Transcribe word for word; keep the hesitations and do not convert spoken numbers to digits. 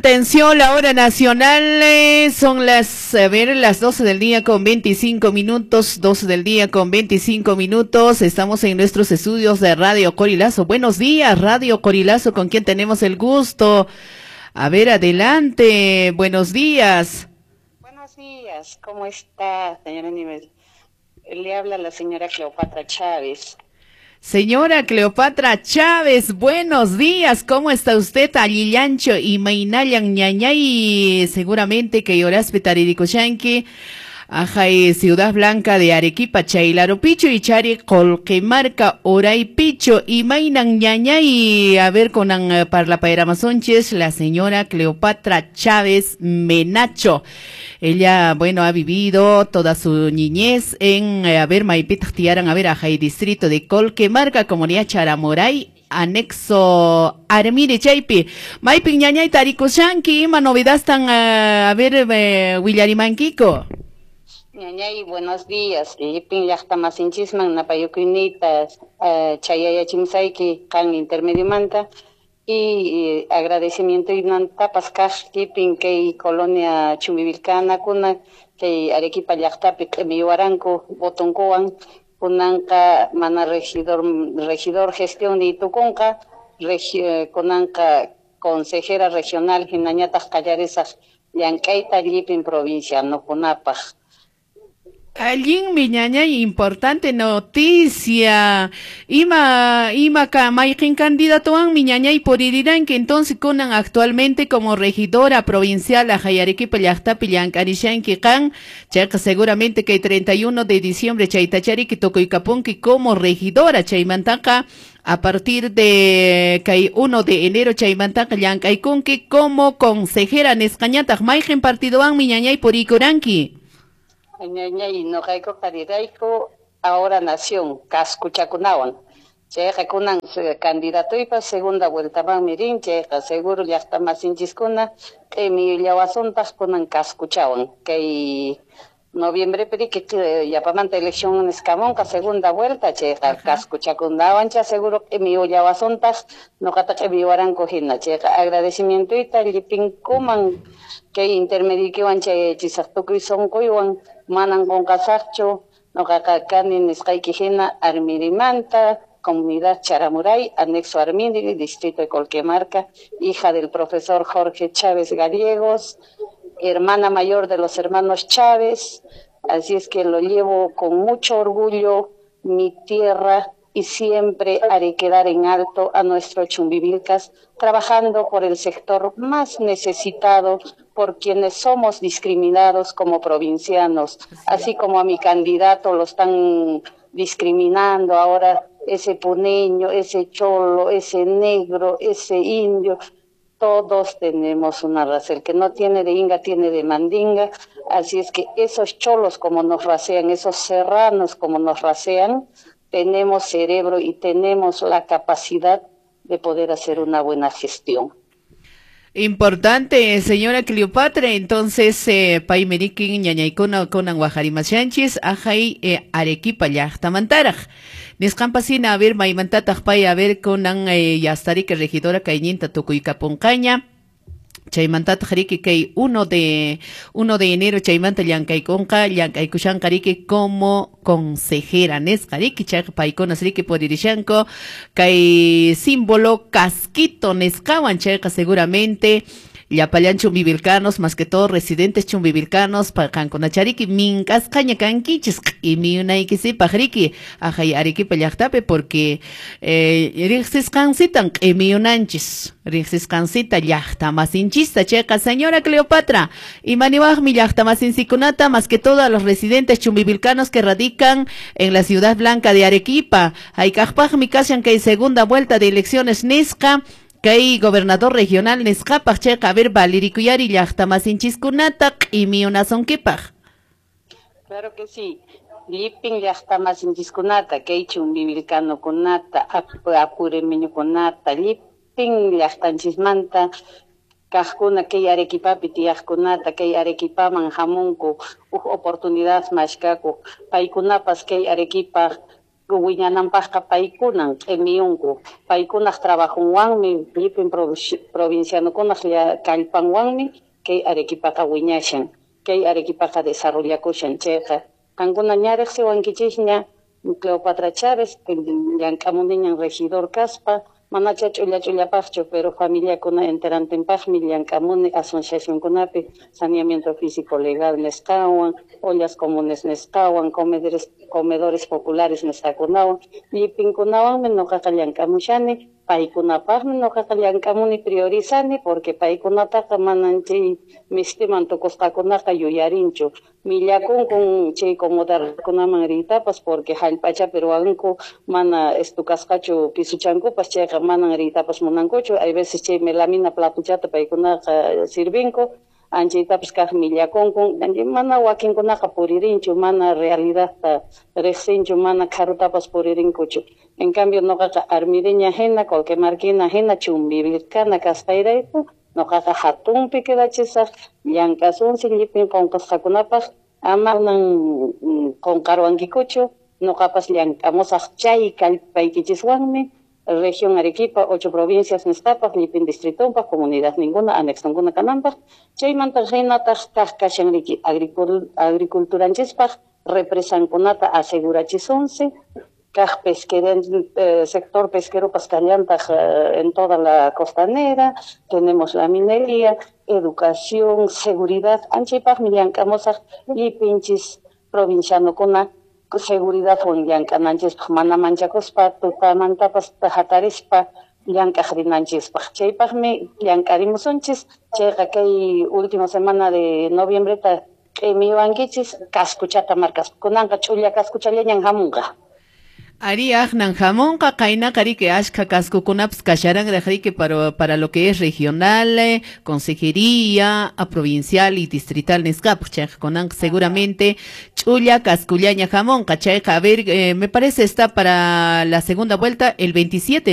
Atención, la hora nacional eh, son las, a ver, las doce del día con veinticinco minutos, doce del día con veinticinco minutos. Estamos en nuestros estudios de Radio Corilazo. Buenos días, Radio Corilazo, con quien tenemos el gusto. A ver, adelante. Buenos días. Buenos días, ¿cómo está, señora Nieves? Le habla la señora Cleopatra Chávez. Señora Cleopatra Chávez, buenos días, ¿cómo está usted? Allillancho y Mainayan ñañay, seguramente que lloraspe tariricoshanki, ajay, Ciudad Blanca de Arequipa, Chaylaropicho y Chari, Colquemarca, Oraypicho, y Mainan ñañay, a ver con parlapaeramazonches, la señora Cleopatra Chávez Menacho. Ella, bueno, ha vivido toda su niñez en, a ver, Maipit, Tiaran, a ver, Ajay, distrito de Colquemarca, comunidad Charamoray, anexo Armire Chaypi. Maipin ñañay tarikushanki, ima novedad tan, a ver, eh, Willarimanquico. Ñañay, buenos días. Lipin llaqta masinchisman napayukuyniyta chayayachimsayki qan intermediomanta. Y agradecimiento y nantapas kaq kipin kay colonia Chumbivilcana kuna kay Arequipa llaqtapi q'imiywaranku votonkuwan kunanqa mana regidor regidor gestión nitukunqa regi, kunanqa consejera regional hinañataq qallarisaq llank'ayta llipin provincianokunapaq. Allinmi ñañay, importante noticia. Ima, ima ka mayqin candidatowanmi ñañay puririranki entonces kunan actualmente como regidora provincial ajay Arequipa llaqtapi llank'arishanki qan, chayqa seguramente que el treinta y uno de diciembre chaytachariki tukuykapunki como regidora chaymantaqa a partir de kay uno de enero chaymantaqa llank'aykunki como consejera nisqañataq mayqin partidowanmi ñañay purikuranki. Ñañay, noqayku qarirayku ahora nación kaskuchakunawan. Chayqa kunan candidatoypa segunda vueltamanmi rin, chayqa seguro llaqta masinchiskuna q'imiyllawasuntaq kunan kaskuchawan. Kay noviembre piriki yapamanta elección nisqamunqa segunda vuelta, chayqa kaskuchakunawan cha seguro q'imiyllawasuntaq noqata q'imiywaranku hina. Chayqa agradecimientoyta llipinkuman kay intermedikiwan chayachisaq tukuy sunquywan manan qunqasaqchu noqaqa kani nisqayki hina Armirimanta, comunidad Charamuray, anexo Armiri, distrito de Colquemarca, hija del profesor Jorge Chávez Gallegos, hermana mayor de los hermanos Chávez, así es que lo llevo con mucho orgullo, mi tierra, y siempre haré quedar en alto a nuestro Chumbivilcas, trabajando por el sector más necesitado, por quienes somos discriminados como provincianos, así como a mi candidato lo están discriminando ahora, ese puneño, ese cholo, ese negro, ese indio. Todos tenemos una raza, el que no tiene de inga tiene de mandinga, así es que esos cholos como nos racean, esos serranos como nos racean, tenemos cerebro y tenemos la capacidad de poder hacer una buena gestión. Importante, señora Cleopatra, entonces, eh, paymerikin ñañaykuna kunan wajarimashanchis, ajay eh, Arequipa llaqtamantaraq. Nisqanpasina, a ver, maymantataq pay, a ver, kunan eh, yastarika regidora kayninta tukuykapunqaña. Chaymantataq riki kay uno de uno de enero chaymanta llank'aykunqa llank'aykushanqa riki como consejera nisqa riki chayqa paykunas riki puririshanku kay símbolo casquito nisqawan chayqa seguramente llapallan chumbivilcanos, más que todo residentes chumbivilcanos, qankunachariki mink'asqaña kankichis q'imiyunaykisipaq riki ajay Arequipa llaqtapi porque eh, riqsisqansitan q'imiyunanchis riqsisqansita llaqtamasinchista chayqa señora Cleopatra imaniwaqmi llaqtamasinsikunata más que todo a los residentes chumbivilcanos que radican en la Ciudad Blanca de Arequipa hayk'aqpaqmi kashan kay segunda vuelta de elecciones nisqa kay gobernador regional nisqapaq chayqa a ver valirikuyari llaqtamasinchiskunata q'imiyunasunkipaq. Claro que sí. Llipin llaqtamasinchiskunata kay chumbivilcanokunata apuremiñukunata llipin llaqtanchismanta kaqkuna kay Arequipapi tiyaqkunata kay Arequipaman hamunku huk oportunidad mashkakuq paykunapas kay Arequipa Wiñananpaqqa paykunan q'imiyunku, paykunaq trabajonwanmi, llipin provincianokunaq kallpanwanmi kay Arequipaqa wiñashan, kay Arequipaqa desarrollakushan. Chayqa qankuna ña riqsiwankichisña, Cleopatra Chávez, llank'amuniñan regidor kaspa, manacha ch'ulla ch'ullapaqchu, pero familiakuna enterantinpaqmi llank'amuni asociacionkunapi, saneamiento físico legal nisqawan, ollas comunes nisqawan, comedores, comedores populares nisqakunawan, llipinkunawanmi noqaqa llank'amushani. Paykunapaqmi noqaqa llank'amuni, priorizani, porque paykunataqa manan chay mistiman tukusqakunaqa yuyarinchu, millakunkun chay comodarkunaman riytapas, porque hallp'achapi ruwanku, mana estukasqachu pisuchankupas, chayqa manan riytapas munankuchu. Hay veces chay melamina platuchata paykunaqa sirvinku, anchaytapas kaq millakunkun, mana wakinkunaqa puririnchu, mana realidadta riqsinchu, mana kharutapas puririnkuchu. En cambio noqaqa armideña hina, Colquemarquina hina, Chumbivilcana kasqayrayku, noqaqa hatunpi quedachisaq, llank'asunsi llipin qunqasqakunapaq, ama qunqarwankikuchu, noqapas llank'amusaq chay kallpaykichiswanmi, región Arequipa, ocho provincias nisqapaq, llipin distritumpaq, comunidad ninguna, anexonkuna kananpaq. Chaymanta hinataq kaq kashan riki agriculturanchispaq represankunata asegurachisunsi, kaq pesquero, eh, sector pesqueropas kallantaq eh, en toda la costanera, tenemos la minería, educación, seguridad, anchaypaqmi llank'amusaq llipinchis provincianokuna seguridad llank'ananchispaq, mana manchakuspa tutamantapas hatarispa llank'aq rinanchispaq. Chaypaqmi llank'arimusunchis. Chayqa kay última semana de noviembreta q'imiwankichis cascuchata marcaspa. Kunanqa ch'ulla cascuchallañan hamunqa. Ari aqnan hamunqa, qaynaqa riki ashka cascokunapas kasharanraq riki para, para lo que es regional, eh, consejería, a provincial y distrital nisqapaq. Chayqa kunanqa seguramente ch'ulla cascullaña hamunqa. Chayqa, a ver, eh, me parece está para la segunda vuelta el veintisiete,